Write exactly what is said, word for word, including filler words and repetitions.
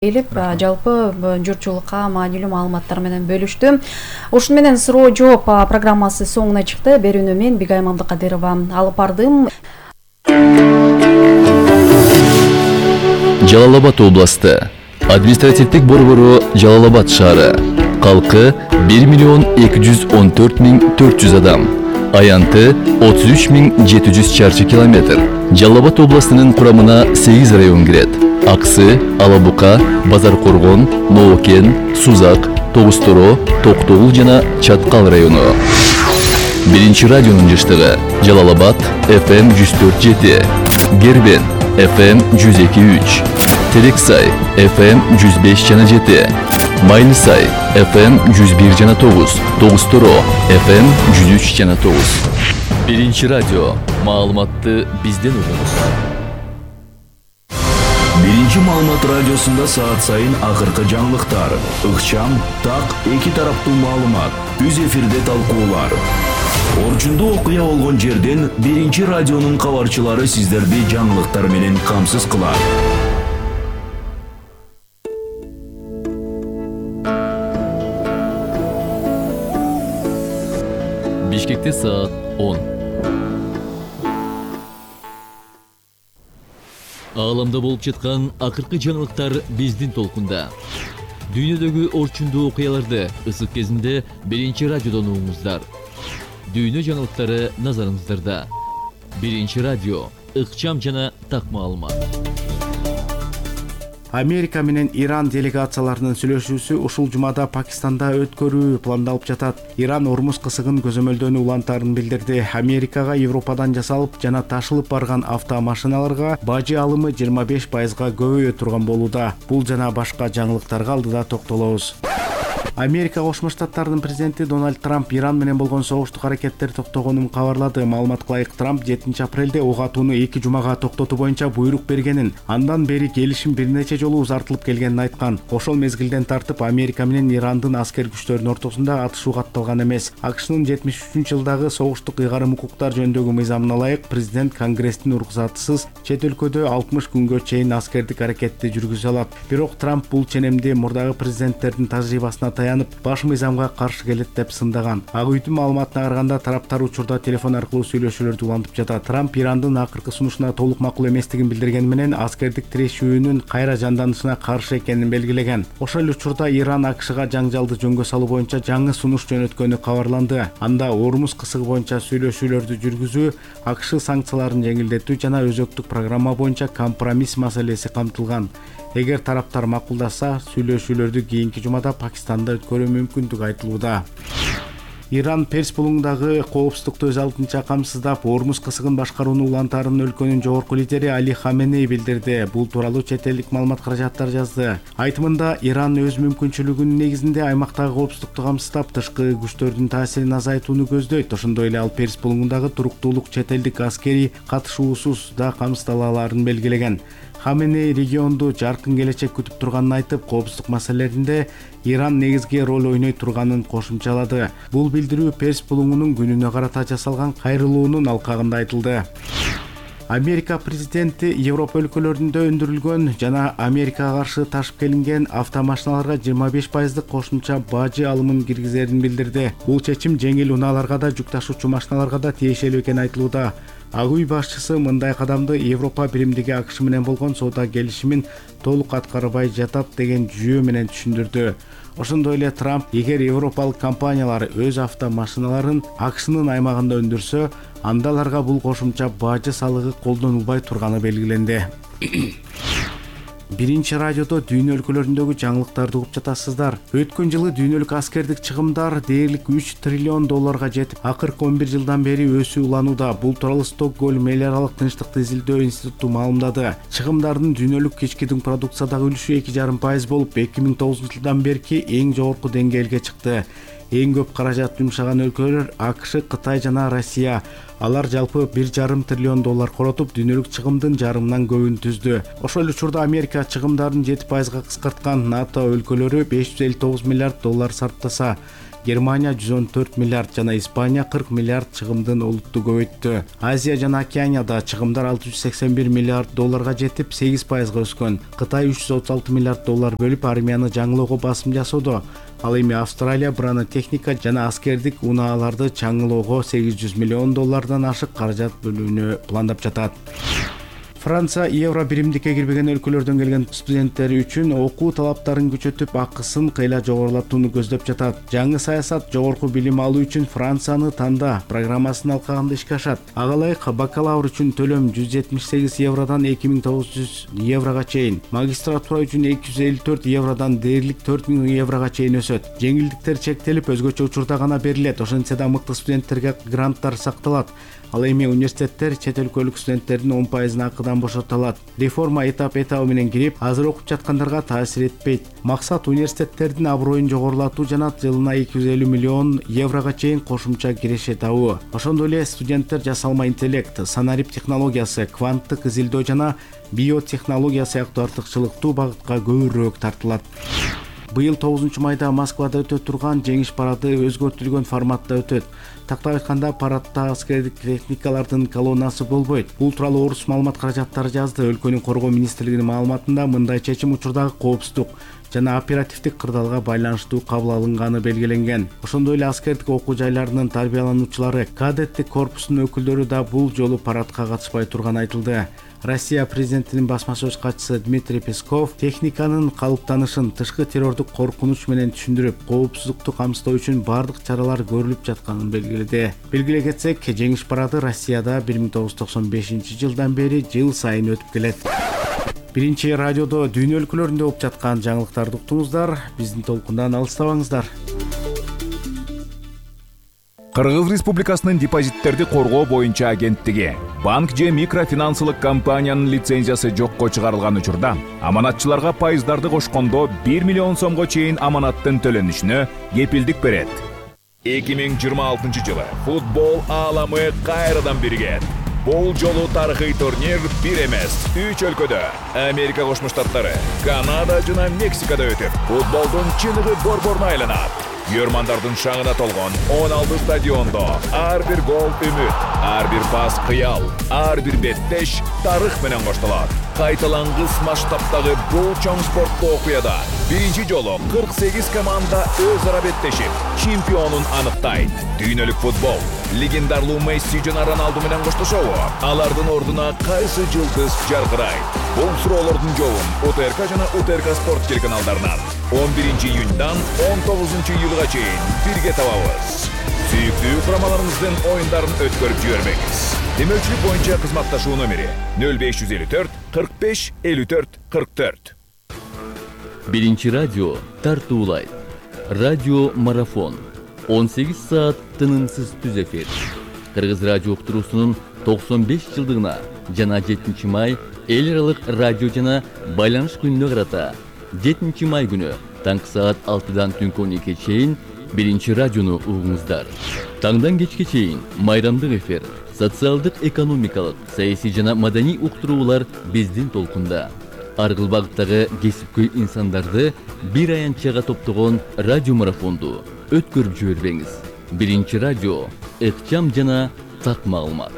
келип жалпы журтчулукка маанилүү маалыматтар менен бөлүштү. Ушун менен суроо жооп программасы соңуна чыкты. Берүүнү мен Бигай Мамдыкадырова алып бардым. Жалал Абад областы. Административдик борбору Жалал Абад шаары. Калкы бир миллион эки жүз он төрт миң төрт жүз адам. Аянты отуз үч миң жети жүз чарчы километр. Жалал Абад областынын курамына сегиз район кирет. Аксы, Алабука, Базар Коргон, Ноокен, Сузак, Тогусторо, Токтогул жана Чаткал району. Биринчи радионун жыштыгы Жалал Абад эф эм жүз төрт жети, Гербен эф эм жүз эки үч, Терексай эф эм жүз беш жана жети, Майлысай эф эм жүз бир жана тогуз, Тогусторо эф эм жүз үч жана тогуз. Биринчи радио. Маалыматты бизден угуңуз. Биринчи маалымат радиосунда саат сайын акыркы жаңылыктар, ыкчам, так, эки тараптуу маалымат, үз эфирде талкуулар. Орчундуу окуя болгон жерден биринчи радионун кабарчылары сиздерди жаңылыктар менен камсыз кылат. Бишкекте саат он. Ааламда болуп жаткан акыркы жаңылыктар биздин толкунда. Дүйнөдөгү орчундуу окуяларды ысык кезинде биринчи радиодон угуңуздар. Дүйнө жаңылыктары назарыңыздарда. Биринчи радио, ыкчам жана так маалымат. Америка менен Иран делегацияларынын сүйлөшүүсү ушул жумада Пакистанда өткөрүү пландалып жатат. Иран Ормуз кысыгын көзөмөлдөөнү улантаарын билдирди. Америкага Европадан жасалып жана ташылып барган автомашиналарга бажы алымы жыйырма беш пайызга көбөйө турган болууда. Бул жана башка жаңылыктарга алдыда токтолобуз. Америка Кошмо Штаттарынын президенти Дональд Трамп Иран менен болгон согуштук аракеттер токтогонун кабарлады. Маалыматка ылайык, Трамп жетинчи апрелде ок атууну эки жумага токтотуу боюнча буйрук бергенин, андан бери келишим бир нече жолу узартылып келгенин айткан. Ошол мезгилден тартып Америка менен Ирандын аскер күчтөрүнүн ортосунда атышуу катталган эмес. АКШнын жетимиш үчүнчү жылдагы согуштук ыйгарым укуктар жөнүндөгү мыйзамына ылайык, президент Конгресстин уруксатысыз чет өлкөдө алтымыш күнгө чейин аскердик аракетти жүргүзө алат. Бирок Трамп бул ченемди мурдагы президенттердин тажрыйбасына таянып, баш мыйзамга каршы келет деп сындаган. Ак үйдүн маалыматына караганда, тараптар учурда телефон аркылуу сүйлөшүүлөрдү улантып жатат. Трамп Ирандын акыркы сунушуна толук макул эместигин билдиргени менен аскердик тирешүүнүн кайра жанданышына каршы экенин белгилеген. Ошол учурда Иран АКШга жаңжалды жөнгө салуу боюнча жаңы сунуш жөнөткөнү кабарланды. Анда Ормуз кысыгы боюнча сүйлөшүүлөрдү жүргүзүү, АКШ санкцияларын жеңилдетүү жана өзөктүк программа боюнча компромисс маселеси камтылган. Эгер тараптар макулдашса, сүйлөшүүлөрдү кийинки жумада Пакистанда өткөрүү мүмкүндүгү айтылууда. Иран Перс булуңундагы коопсуздукту өз алдынча камсыздап, Ормуз кысыгын башкарууну улантаарын өлкөнүн жогорку лидери Али Хаменей билдирди. Бул тууралуу чет элдик маалымат каражаттар жазды. Айтымында, Иран өз мүмкүнчүлүгүнүн негизинде аймактагы коопсуздукту камсыздап, тышкы күчтөрдүн таасирин азайтууну көздөйт. Ошондой эле ал Перс булуңундагы туруктуулук чет элдик аскери катышуусуз да камсыздала алаарын белгилеген. Хаменей регионду жаркын келечек күтүп турганын айтып, коопсуздук маселелеринде Иран негизги роль ойной турганын кошумчалады. Бул билдирүү Перс булуңунун күнүнө карата жасалган кайрылуунун алкагында айтылды. Америка президенти Европа өлкөлөрүндө өндүрүлгөн жана Америкага каршы ташып келинген автомашиналарга жыйырма беш пайыздык кошумча бажы алымын киргизерин билдирди. Бул чечим жеңил унааларга да, жүк ташуучу машиналарга да тиешелүү экени айтылууда. Ак үй башчысы мындай кадамды Европа биримдиги АКШ менен болгон соода келишимин толук аткарбай жатат деген жүйө менен түшүндүрдү. Ошондой эле Трамп, эгер европалык компаниялар өз автомашиналарын АКШнын аймагында өндүрсө, анда аларга бул кошумча бажы салыгы колдонулбай турганы белгиленди. Биринчи радиодо дүйнө өлкөлөрүндөгү жаңылыктарды угуп жатасыздар. Өткөн жылы дүйнөлүк аскердик чыгымдар дээрлик үч триллион долларга жетип, акыркы он бир жылдан бери өсүү уланууда. Бул тууралуу Стокгольм эл аралык тынчтыкты изилдөө институту маалымдады. Чыгымдардын дүйнөлүк ички продукциядагы үлүшү эки жарым пайыз болуп, эки миң тогузунчу жылдан берки эң жогорку деңгээлге чыкты. Эң көп каражат жумшаган өлкөлөр АКШ, Кытай жана Россия. Алар жалпы бир жарым триллион доллар коротуп, дүйнөлүк чыгымдын жарымынан көбүн түздү. Ошол учурда Америка чыгымдарын жети пайызга кыскарткан. НАТО өлкөлөрү беш жүз элүү тогуз миллиард доллар сарптаса, Германия жүз он төрт миллиард жана Испания кырк миллиард чыгымдын олутту көбөйттү. Азия жана Океанияда чыгымдар алты жүз сексен бир миллиард долларга жетип сегиз пайызга өскөн. Кытай үч жүз отуз алты миллиард доллар бөлүп армияны жаңылоого басым жасоодо. Ал эми Австралия бронетехника жана аскердик унааларды чаңылоого сегиз жүз миллион доллардан ашык каражат бөлүүнү пландап жатат. Франция евро биримдикке кирбеген өлкөлөрдөн келген студенттери үчүн окуу талаптарын күчөтүп, акысын кыйла жогорулатууну көздөп жатат. Жаңы саясат жогорку билим алуу үчүн Францияны танда программасын алкаганда ишке ашат. Ага ылайык бакалавр үчүн төлөм жүз жетимиш сегиз евродан эки миң тогуз жүз еврога чейин, магистратура үчүн эки жүз элүү төрт евродан дээрлик төрт миң еврога чейин өсөт. Жеңилдиктер чектелип, өзгөчө учурда гана берилет. Ошентсе да мыкты студенттерге гранттар сакталат. Ал эми университеттер чет өлкөлүк студенттердин он пайызын акыдан бошотулат. Реформа этап-этабы менен кирип, азыр окуп жаткандарга таасир этпейт. Максат университеттердин аброюн жогорулатуу жана жылына эки жүз элүү миллион еврога чейин кошумча киреше табуу. Ошондой эле студенттер жасалма интеллект, санарип технологиясы, кванттык изилдөө жана биотехнология сыяктуу артыкчылыктуу багытка көбүрөөк тартылат. Быйыл тогузунчу майда Москвада өтө турган жеңиш парады өзгөртүлгөн форматта өтөт. Тактап айтканда, парадда аскердик техникалардын колоннасы болбойт. Бул тууралуу Орус маалымат каражаттары жазды. Өлкөнүн коргоо министрлигинин маалыматында мындай чечим учурдагы коопсуздук жана оперативдик кырдаалга байланыштуу кабыл алынганы белгиленген. Ошондой эле аскердик окуу жайларынын тарбиялануучулары, кадеттик корпусунун өкүлдөрү да бул жолу парадка катышпай турганы айтылды. Россия президентинин басма сөз катчысы Дмитрий Песков техниканын калыптанышын тышкы террордук коркунуч менен түшүндүрүп, коопсуздукту камсыздоо үчүн бардык чаралар көрүлүп жатканын белгиледи. Белгилей кетсек, жеңиш парады Россияда бир миң тогуз жүз токсон бешинчи жылдан бери жыл сайын өтүп келет. Биринчи радиодо дүйнө өлкөлөрүндө болуп жаткан жаңылыктарды уктуңуздар. Биздин толкундан алыстабаңыздар. Кыргыз Республикасынын депозиттерди коргоо боюнча агенттиги банк же микрофинансылык компаниянын лицензиясы жокко чыгарылган учурда аманатчыларга пайыздарды кошкондо бир миллион сомго чейин аманаттын төлөнүшүнө кепилдик берет. эки миң жыйырма алтынчы жылы футбол ааламы кайрадан биригет. Бул жолу тарыхый турнир бир эмес, үч өлкөдө Америка Кошмо Штаттары, Канада жана Мексикада өтүп, футболдун чыныгы борборуна айланат. Көрмандардын шаңына толгон он алты стадиондо ар бир гол үмүт, ар бир пас кыял, ар бир беттеш тарых менен коштолот. Кайталангыс масштабтагы бул чоң спорттуу окуяда биринчи жолу кырк сегиз команда өз ара беттешип, чемпионун аныктайт. Дүйнөлүк футбол легендарлуу Месси жана Роналду менен коштошобу? Алардын ордуна кайсы жылдыз жаркырайт? Бул суроолордун жообун УТРК жана УТРК спорт телеканалдарынан он биринчи июньдан он тогузунчу июлга чейин бирге табабыз. Сүйүктүү курамаларыңыздын оюндарын өткөрүп жибербеңиз. Демөөлчүлүк боюнча кызматташуу номери нөл беш жүз элүү төрт кырк беш элүү төрт кырк төрт. Биринчи радио тартуулайт. Радио марафон. он сегиз саат тынымсыз түз эфир. Кыргыз радио уктуруусунун токсон беш жылдыгына жана жетинчи май эл аралык радио жана байланыш күнүнө карата жетинчи май күнү таңкы саат алтыдан түнкү он экиге чейин биринчи радиону угуңуздар. Таңдан кечке чейин майрамдык эфир, социалдык, экономикалык, саясий жана маданий уктуруулар биздин толкунда. Ар кыл багыттагы кесипкөй инсандарды бир аянтчага топтогон радио марафонду өткөрүп жибербеңиз. Биринчи радио, ыкчам жана так маалымат.